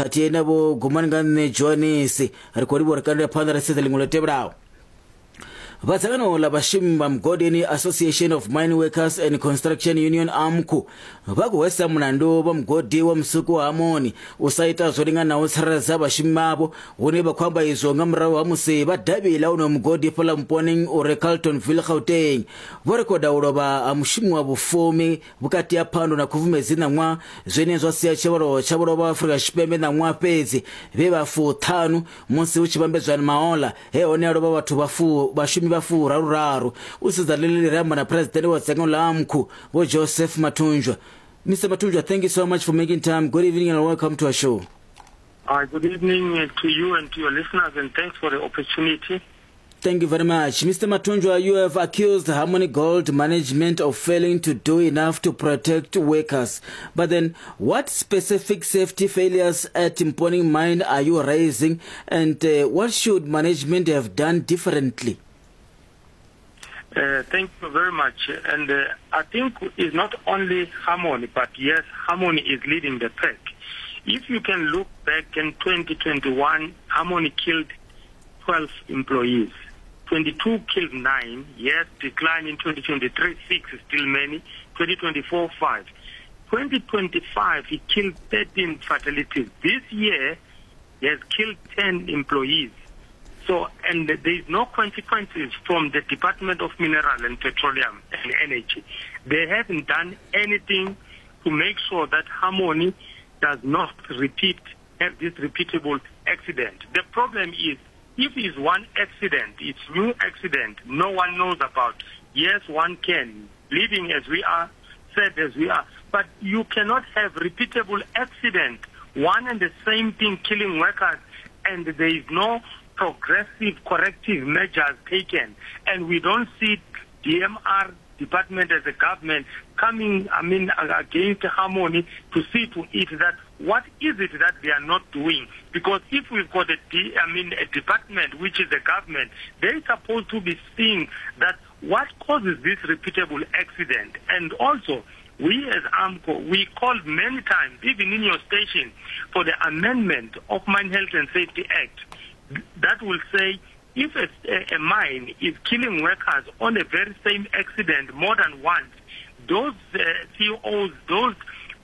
Khathihi na Vho Gumani nga nṋe Johanisi ri khou livhuwa ri kandela phanḓa ra sedza ḽiṅwe ḽo tevhelaho. Vha dzangano ḽa vhashumi vha mugodini Association of Mine Workers and Construction Union AMCU vha khou hwesa mulandu vha mugodi wa musuku wa Harmony u sa ita zwo linganaho tsireledza vhashumi vhavho, hune vha khou amba izwo nga murahu ha musi vha davhi ḽa wonoyo mugodi fhaḽa Mponeng u re Carltonville Gauteng vho rekhoda u lovha ha mushumi wa vhufumi vhukati ha Phando na Khubvumedzi ṋaṅwaha, zwine zwa sia tshivhalo tsha vho lovha Afrika Tshipembe ṋaṅwaha fhedzi vhe vha fuṱhanu musi hu tshi vhambedzwa na mahoḽa he hone ha lovha vhathu vha fu vhashumi vha furaruraru. U sedza ḽeḽi ri amba na Phresidennde wa dzangano ḽa AMCU Vho Joseph Mathunjwa. Mr Mathunjwa, thank you so much for making time. Good evening and welcome to our show. Good evening to you and to your listeners, and thanks for the opportunity. Thank you very much. Mr. Mathunjwa, you have accused Harmony Gold management of failing to do enough to protect workers. But then, what specific safety failures at Mponeng Mine are you raising, and what should management have done differently? Thank you very much. And I think it's not only Harmony, but yes, Harmony is leading the pack. If you can look back in 2021, Harmony killed 12 employees. 22 killed 9. Yes, decline in 2023, 6 is still many. 2024, 5. 2025, he killed 13 fatalities. This year, he has killed 10 employees. So, and there is no consequences from the Department of Mineral and Petroleum and Energy. They haven't done anything to make sure that Harmony does not repeat, have this repeatable accident. The problem is, if it's one accident, it's new accident, no one knows about. Yes, one can, living as we are, sad as we are, but you cannot have repeatable accident, one and the same thing killing workers, and there is no progressive corrective measures taken. And we don't see DMR department as a government coming, I mean, against Harmony to see to it that what is it that they are not doing? Because if we've got a, D, I mean, a department, which is the government, they're supposed to be seeing that what causes this repeatable accident. And also, we as AMCU, we called many times, even in your station, for the amendment of Mine Health and Safety Act that will say if a mine is killing workers on the very same accident more than once, those CEOs, those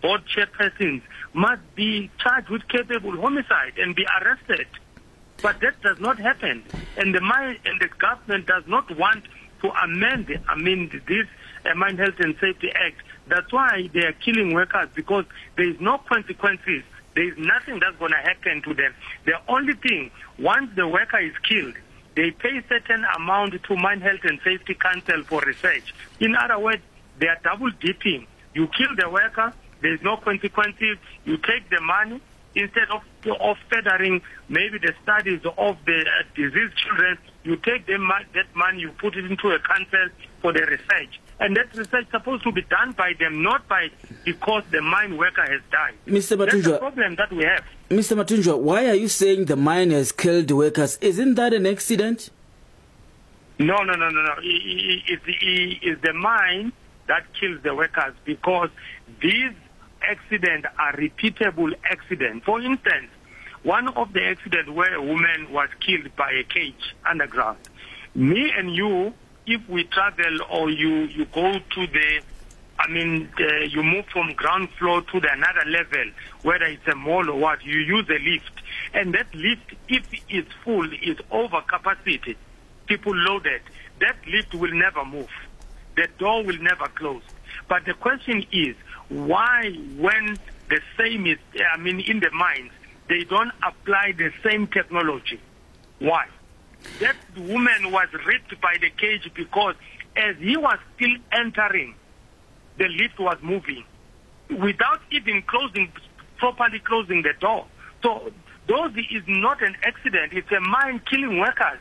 board chairpersons must be charged with culpable homicide and be arrested. But that does not happen. And the mine and the government does not want to amend, I mean, this Mine Health and Safety Act. That's why they are killing workers, because there is no consequences. There is nothing that's going to happen to them. The only thing, once the worker is killed, they pay certain amount to Mine Health and Safety Council for research. In other words, they are double dipping. You kill the worker, there is no consequences. You take the money, instead of furthering maybe the studies of the diseased children, you take them, that money, you put it into a council for the research. And that research is supposed to be done by them, not by because the mine worker has died. Mr. That's the Mathunjwa, problem that we have. Mr. Mathunjwa, why are you saying the mine has killed workers? Isn't that an accident? No, no, no, no, no. It's the mine that kills the workers, because these accidents are repeatable accidents. For instance, one of the accidents where a woman was killed by a cage underground. Me and you, if we travel or you go to the, I mean, you move from ground floor to the another level, whether it's a mall or what, you use a lift. And that lift, if it's full, is over capacity, people loaded, that lift will never move. The door will never close. But the question is, why when the same is, I mean, in the mines, they don't apply the same technology? Why? That woman was ripped by the cage because as he was still entering, the lift was moving without even properly closing the door. So those is not an accident. It's a mine killing workers.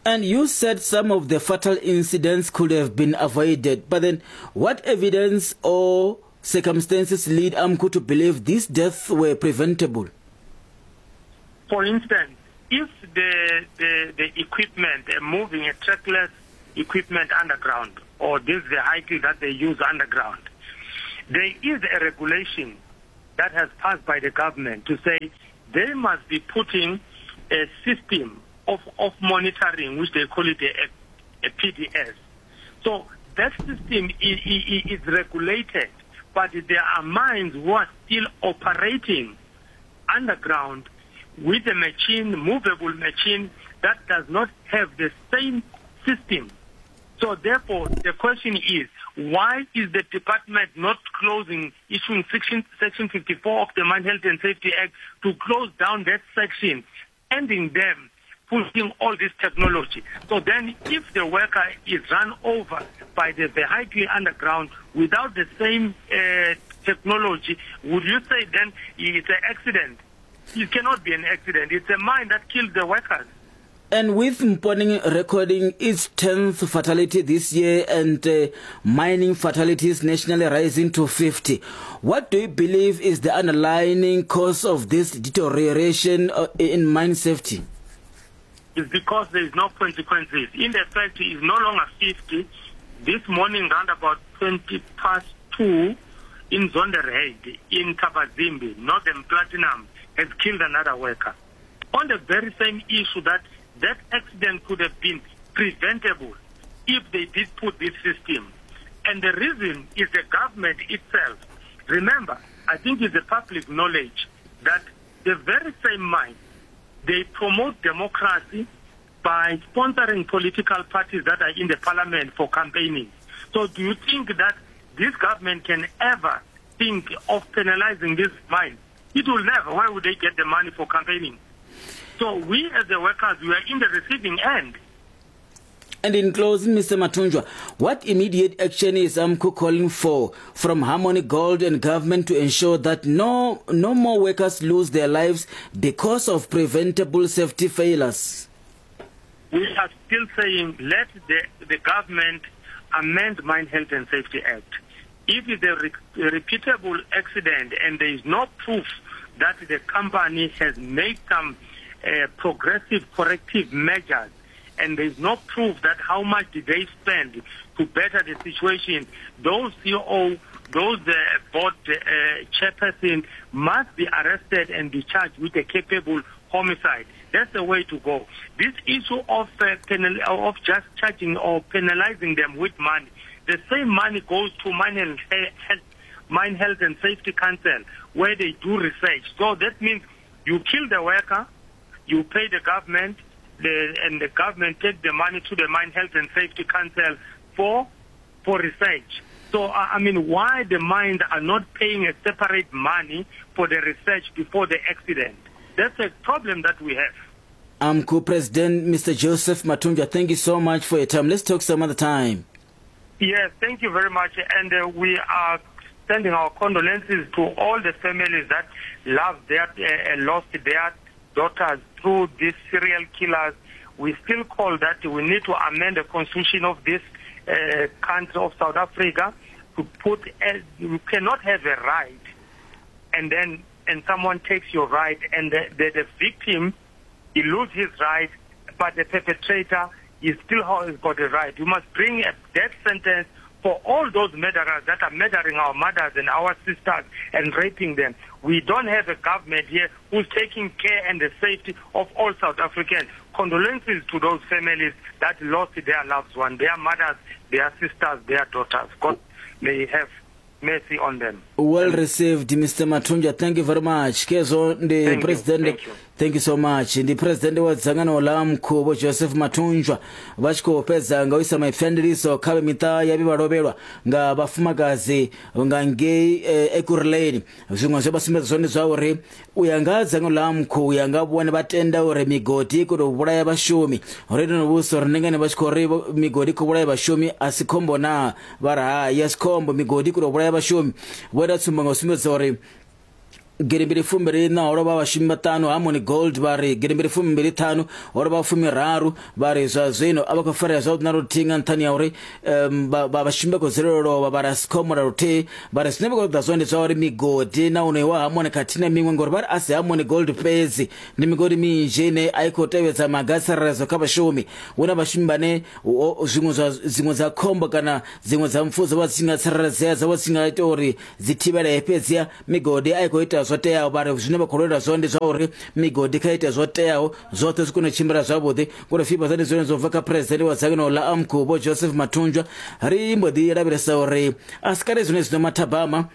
And you said some of the fatal incidents could have been avoided. But then what evidence or circumstances lead AMCU to believe these deaths were preventable? For instance, if the equipment, moving a trackless equipment underground, or this vehicle that they use underground, there is a regulation that has passed by the government to say they must be putting a system of, of monitoring, which they call it a, a PDS. So that system is, is regulated, but there are mines who are still operating underground with a machine, movable machine, that does not have the same system. So therefore, the question is, why is the department not closing, issuing section, section 54 of the Mine Health and Safety Act to close down that section, ending them pushing all this technology. So then if the worker is run over by the vehicle underground without the same uh, technology, would you say then it's an accident? It cannot be an accident. It's a mine that killed the workers. And with Mponeng recording its 10th fatality this year and uh, mining fatalities nationally rising to 50, what do you believe is the underlying cause of this deterioration uh, in mine safety? It's because there is no consequences. In the fact, it's no longer 50. This morning, round about 20 past 2, in Zonderheid, in Thabazimbi, Northern Platinum, has killed another worker. On the very same issue that that accident could have been preventable if they did put this system. And the reason is the government itself. Remember, I think it's a public knowledge that the very same mind, they promote democracy by sponsoring political parties that are in the parliament for campaigning. So do you think that this government can ever think of penalizing this mine? It will never. Why would they get the money for campaigning? So we as the workers, we are in the receiving end. And in closing, Mr. Mathunjwa, what immediate action is AMCU calling for from Harmony Gold and government to ensure that no, no more workers lose their lives because of preventable safety failures? We are still saying let the, the government amend Mine Health and Safety Act. If it's a re repeatable accident and there is no proof that the company has made some uh, progressive corrective measures and there is no proof that how much did they spend to better the situation, those CEO, those uh, board uh, chairperson must be arrested and be charged with a capable homicide. That's the way to go. This issue of, uh, penal, of just charging or penalizing them with money, the same money goes to Mine Health, Mine Health and Safety Council, where they do research. So that means you kill the worker, you pay the government, the, and the government take the money to the Mine Health and Safety Council for, for research. So, I mean, why the mines are not paying a separate money for the research before the accident? That's a problem that we have. AMCU President Mr. Joseph Mathunjwa, thank you so much for your time. Let's talk some other time. Yes, thank you very much. And uh, we are sending our condolences to all the families that loved their, uh, lost their daughters through these serial killers. We still call that we need to amend the constitution of this uh, country of South Africa to put, uh, you cannot have a right and then and someone takes your right and the, the, the victim, he loses his right, but the perpetrator, he still has got a right. You must bring a death sentence for all those murderers that are murdering our mothers and our sisters and raping them. We don't have a government here who's taking care and the safety of all South Africans. Condolences to those families that lost their loved ones, their mothers, their sisters, their daughters. God may have mercy on them. Well received Mr Mathunjwa thank you very much kezwo ndi Thank you, president thank you. thank you so much ndi president wa dzangano la mkhu vho Joseph Mathunjwa vha tshi khou fhedza nga u isa maipfi a ndiliso kha vhe miṱa ya vhe vha lovhelwa nga vhafumakadzi nga ngei eh, Ekurhuleni zwiṅwe zwe vha sumbedza zwone zwa uri U ya nga ha dzangano ḽa AMCU, u ya nga vhone vha tenda uri migodi i khou tou vhulaya vhashumi. Ro ita no vhudzisa uri ndi ngani vha tshi khou ri migodi i khou vhulaya vhashumi, a si khombo naa? Vha ri hai, a si khombo, migodi i khou tou vhulaya vhashumi. Vho ita tsumbo nga u sumbedza uri 2024 ho lovha vhashumi vhaṱanu Harmony Gold vha ri 2025 ho lovha 30 vha ri zwa zwino a vha khou farea zwavhuḓi na luthihi nga nṱhani ha uri um, vhashumi vha khou dzulela u lovha vha ri a si khombo na luthihi vha ri zwine vha khou ṱoḓa zwone ndi zwa uri migodi na wonoyu wa Harmony khathihi na miṅwe ngori vha ri a si Harmony Gold fhedzi ndi migodi minzhi ine a i khou tevhedza maga a tsireledzo kha vhashumi hu na vhashumi vhane zwiṅwe zwa dziṅwe dza khombo kana dziṅwe dza mpfu dzo vha dzi tshi nga tsireledzea dzo vha dzi tshi nga ita uri dzi thivhelee fhedziha migodi a i khou ita zwo teaho vha ri zwine vha khou lwela zwone ndi zwa uri migodi kha ite zwo teaho zwoṱhe zwi kone u tshimbila zwavhuḓi ngori fifa ndi zwone zwo bva kha phuresidennde wa dzangano ḽa amcu vho joseph mathunjwa ri mbo ḓi lavhelesa uri a si kale zwine zwino mathabama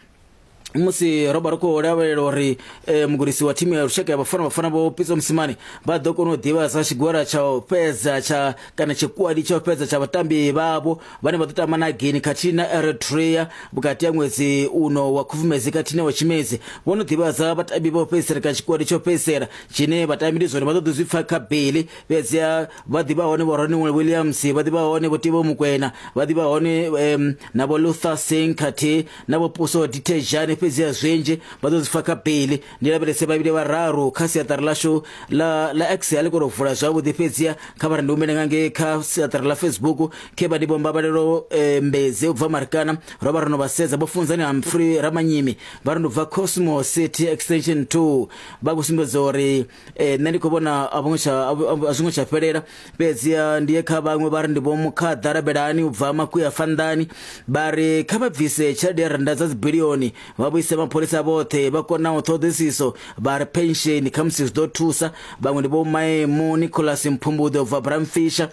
musi ro vha ri khou lavhelela uri eh, mugudisi wa thimu ya lushaka ya bafana bafana vho pitso mosimane vha ḓo kona u ḓivhadza tshigwada tsha u fhedza tsha kana tshikwadi tsha u fhedza tsha vhatambi vhavho vhane vha ḓo tamba na Guinea khathihi na Eritrea vhukati ha ṅwedzi uno wa Khubvumedzi khathihi na wa Tshimedzi. Vho no ḓivhadza vhatambi vha u fhedzisela kana tshikwadi tsha u fhedzisela tshine vhatambi ndi zwone vha ḓo ḓi zwi pfa kha Bailey fhedziha vha ḓivha hone vho Ronnie Williams vha ḓivha hone vho Teboho Mokoena vha ḓivha hone um, na vho Luther Singh khathihi na vho Puso Dithejane fhedziha zwinzhi vha ḓo zwi pfa kha Bailey. Ndi lavhelese vhavhili vhararu kha siaṱari ḽashu ḽa ḽa X a ḽi kona u vula zwavhuḓi fhedziha kha vha ri ndi humele nga ngei kha siaṱari ḽa Facebook khe vha ndi vho Mbabalelo eh, Mbedzi u bva Marikana ro vha ro no vha sedza vho Funzani Humphrey Ramanyimi vha ri ndi bva Cosmo City Extension 2 vha khou sumbedza uri eh, nṋe ndi khou vhona a vho tsha a zwingo tsha fhelela fhedzi ndi ye kha vhaṅwe vha ri ndi vho Mukhaḓa Rabelani u bva Makuya Fanḓani vha ri kha vha bvise tshelede ya rannda dza dzibilioni vha vhuise mapholisa vhoṱhe vha konaho ṱhoḓisiso vha ri pensheni khamusi zwi ḓo thusa vhaṅwe ndi vho Maemu Nicholas Mphumbuḓe u bva Bramfisher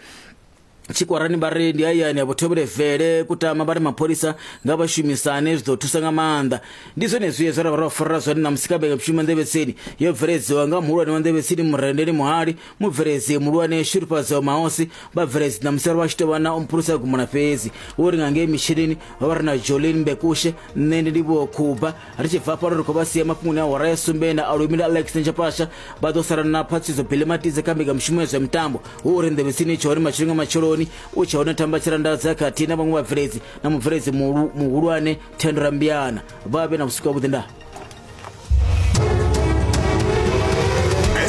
tshikwarani vha ri ndi hayani ya vhuthobele vele kutama vha ri mapholisa nga vha shumisane zwi ḓo thusa nga maanḓa ndi zwenezwi zwe ra vha ro farela zwone ṋamusi kha mbekanyamushumo nḓevhetsini yo bveledziwa nga muhulwane wa nḓevhetsini murendeli muhali mubveledzi muhulwane shurufhadzo mahosi vhabveledzi ṋamusi ro vha tshi tovha na umphulusa gumula fhedzi wo ri nga ngei mitshinini vha vha ri na jolin mbekushe nṋe ndi ndivhuwo khuba ri tshi bva fhano ri khou vha sia mafhungoni a hora ya sumbe na alumile alex nchapasha vha ḓo sala na phatsidzo bilimatize kha mbekanyamushumo ya zwa mitambo hu uri nḓevhetsini tsho hone matsheloni nga matsheloni u tshe hone thamba tshirandadza khathihi na vhaṅwe vhabveledzi na mubveledzi muhulwane thendo rambiana vha vhe na vhusiku havhuḓi ndaa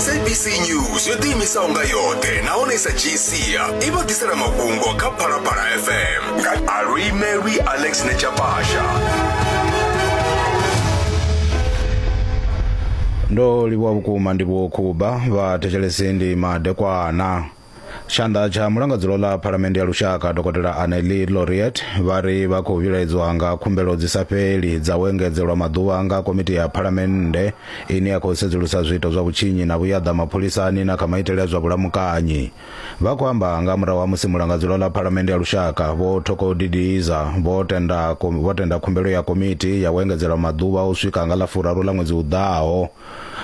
SABC News yo ḓiimisaho nga yoṱhe nahone sa dzhii sia i vha ḓisela mafhungo kha Phalaphala FM nga Aluimelwi Alex Nechapasha. Ndo livhuwa vhukuma ndi vho Khuba vha thetshelesi ndi madekwana. Tshanḓa tsha mulangadzulo ḽa Phalamennde ya Lushaka Dokotela Annelie Laureate vha ri vha khou vhilaedzwa nga khumbelo dzi sa fheli dza u engedzelwa maḓuvha nga komiti ya Phalamennde ine ya khou sedzulusa zwiito zwa vhutshinyi na vhuyaḓa mapholisani na kha maitele a zwa vhulamukanyi. Vha khou amba nga murahu ha musi mulangadzulo ḽa Phalamennde ya Lushaka Vho Thoko Didiza vho tenda vho tenda khumbelo ya komiti ya u engedzelwa maḓuvha u swika nga ḽa furaru ḽa ṅwedzi u ḓaho.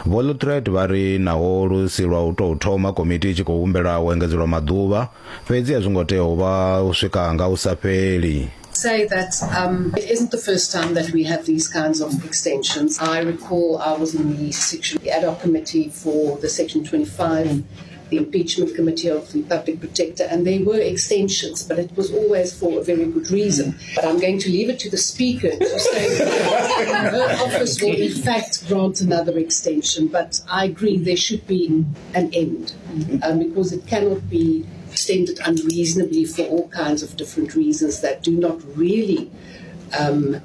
Vho Lutred vha ri naho lu si lwa u tou thoma komiti i tshi khou humbela u engedzelwa maḓuvha, fhedzi a zwi ngo tea u vha u swika nga hu sa fheli. Say that um, it isn't the first time that we have these kinds of extensions. I recall I was in the section, the ad hoc committee for the Section 25 the impeachment committee of the public protector, and there were extensions, but it was always for a very good reason. But I'm going to leave it to the speaker to say that her office will in fact grant another extension. But I agree there should be an end um, because it cannot be extended unreasonably for all kinds of different reasons that do not really um,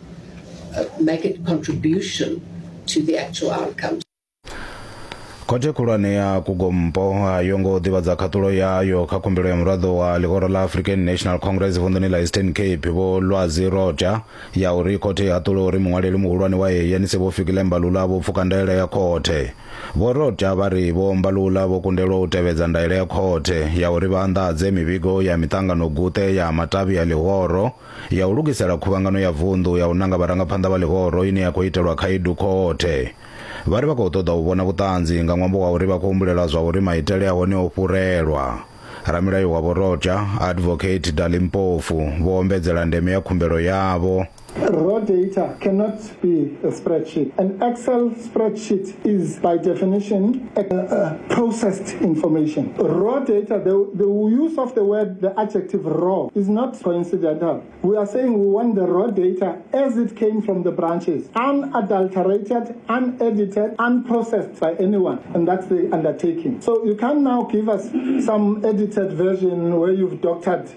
uh, make a contribution to the actual outcomes. Khothe khulwane ya Kugompo a yo ngo ḓivhadza khaṱulo yayo kha khumbelo ya muraḓo wa ḽihoro ḽa African National Congress vunḓuni ḽa Eastern Cape Vho Lwazi Roja ya uri khothe i haṱule uri muṅwaleli muhulwane wa ANC Vho Fikile Mbalula vho pfuka ndaela ya khothe. Vho Roja vha ri Vho Mbalula vho kundelwa u tevhedza ndaela ya khothe ya uri vha anḓadze mivhigo ya miṱangano guṱe ya matavhi a ḽihoro ya u lugisela khuvhangano ya vunḓu ya u nanga vharangaphanḓa vha ḽihoro ine ya khou itelwa khaedu khothe. Vha ri vha khou ṱoḓa u vhona vhuṱanzi nga ṅwambo wa uri vha khou humbulela zwa uri maitele a hone o fhurelwa. Ramilayo wa Vho Rocha, Advocate Dali Mpofu, vho ombedzela ndeme ya khumbelo yavho. Raw data cannot be a spreadsheet. An Excel spreadsheet is, by definition, a, a processed information. Raw data, the, the use of the word, the adjective raw, is not coincidental. We are saying we want the raw data as it came from the branches, unadulterated, unedited, unprocessed by anyone. And that's the undertaking. So you can now give us some edited version where you've doctored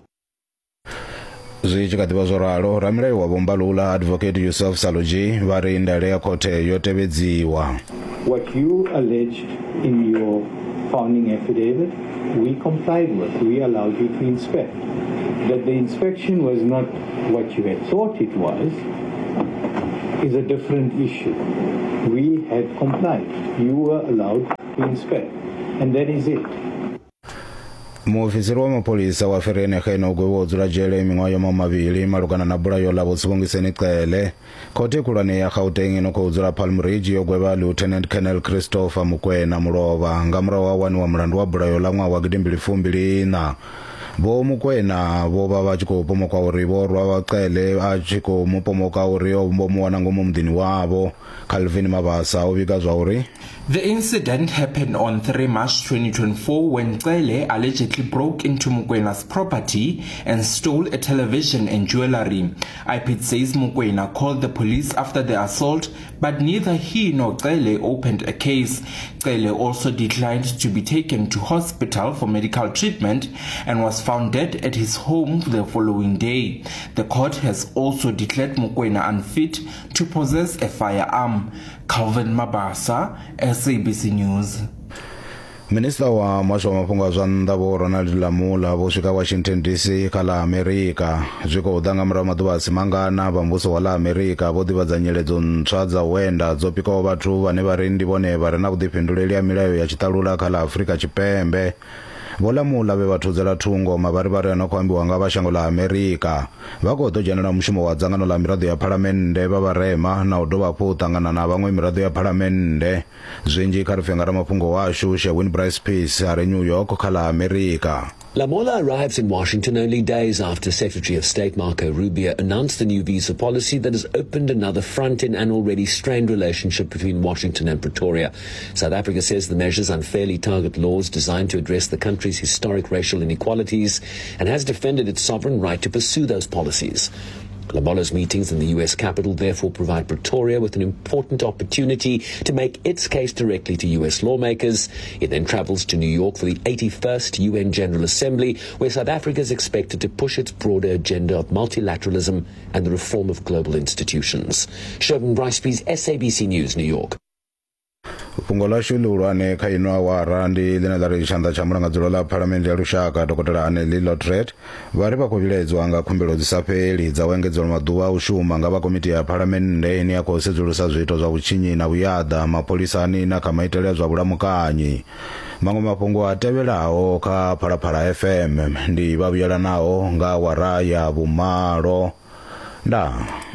Zwi tshi kha ḓivha zwo ralo, ramilayo wa Vho Mbalula, Advocate Yusuf Saluji, vha ri ndaela ya khothe yo tevhedziwa. What you alleged in your founding affidavit, we complied with. We allowed you to inspect. That the inspection was not what you had thought it was is a different issue. We had complied. You were allowed to inspect. And that is it. Muofisiri wa mapholisa wa Vereeniging o gwevhiwa u dzula dzhele miṅwaha ya mahumimavhili malugana na bulayo ḽa Vho Sibongiseni Cele. Khothe khulwane ya Gauteng ino khou dzula Palm Ridge yo gwevha Lieutenant Colonel Christopher Mokoena mulovha nga murahu ha u waniwa mulandu wa bulayo ḽa ṅwaha wa gidimbili fumbili iṋa. Vho Mokoena vho vha vha tshi khou pomokwa uri vho rwa Cele a tshi khou mu pomoka uri o vho mu wana ngomu muḓini wavho. Calvin Mabasa o vhiga zwa uri The incident happened on 3 March 2024 when Cele allegedly broke into Mukwena's property and stole a television and jewelry. IPID says Mukwena called the police after the assault, but neither he nor Cele opened a case. Cele also declined to be taken to hospital for medical treatment and was found dead at his home the following day. The court has also declared Mukwena unfit to possess a firearm. Calvin Mabasa, SABC News. Minista wa muhasho wa mafhungo a zwa nnḓa vho Ronald Lamola vho swika Washington DC kha ḽa Amerika. Zwi khou ḓa nga murahu maḓuvha a si mangana vha muvhuso wa ḽa Amerika vho ḓivhadza nyiledzo ntswa dza u enda dzo pikaho vhathu vhane vha ri ndi vhone vha re na vhuḓifhinduleli ha milayo ya tshiṱalula kha ḽa Afrika Tshipembe. Vho Lamola vhe vha thudzela thungo mavharivhari a no khou ambiwa nga vha shango ḽa Amerika vha khou ḓo dzhenela mushumo wa dzangano ḽa miraḓo ya phalamennde vha vharema na u dovha hafhu u ṱangana na vhaṅwe miraḓo ya phalamennde. Zwinzhi kha ri pfe nga ramafhungo washu Sherwin Bryce Peace a re New York kha ḽa Amerika. Lamola arrives in Washington only days after Secretary of State Marco Rubio announced the new visa policy that has opened another front in an already strained relationship between Washington and Pretoria. South Africa says the measures unfairly target laws designed to address the country's historic racial inequalities and has defended its sovereign right to pursue those policies. Lamola's meetings in the U.S. capital therefore provide Pretoria with an important opportunity to make its case directly to U.S. lawmakers. It then travels to New York for the 81st UN General Assembly, where South Africa is expected to push its broader agenda of multilateralism and the reform of global institutions. Sherwin Bryce, SABC News, New York. Fhungo ḽashu ḽihulwane kha ino awara ndi ḽine ḽa ri tshanḓa tsha mulangadzulo ḽa phalamennde ya lushaka dokotela Aneli Lotret vha ri vha khou vhilaedzwa nga khumbelo dzi sa fheli dza u engedzelwa maḓuvha a u shuma nga vha komiti ya phalamennde ine ya khou sedzulusa zwiito zwa vhutshinyi na vhuyaḓa mapholisani na kha maitele a zwa vhulamukanyi. Maṅwe mafhungo a tevhelaho kha Phalaphala FM ndi vha vhuyelanaho nga awara ya vhumalo. Ndaa.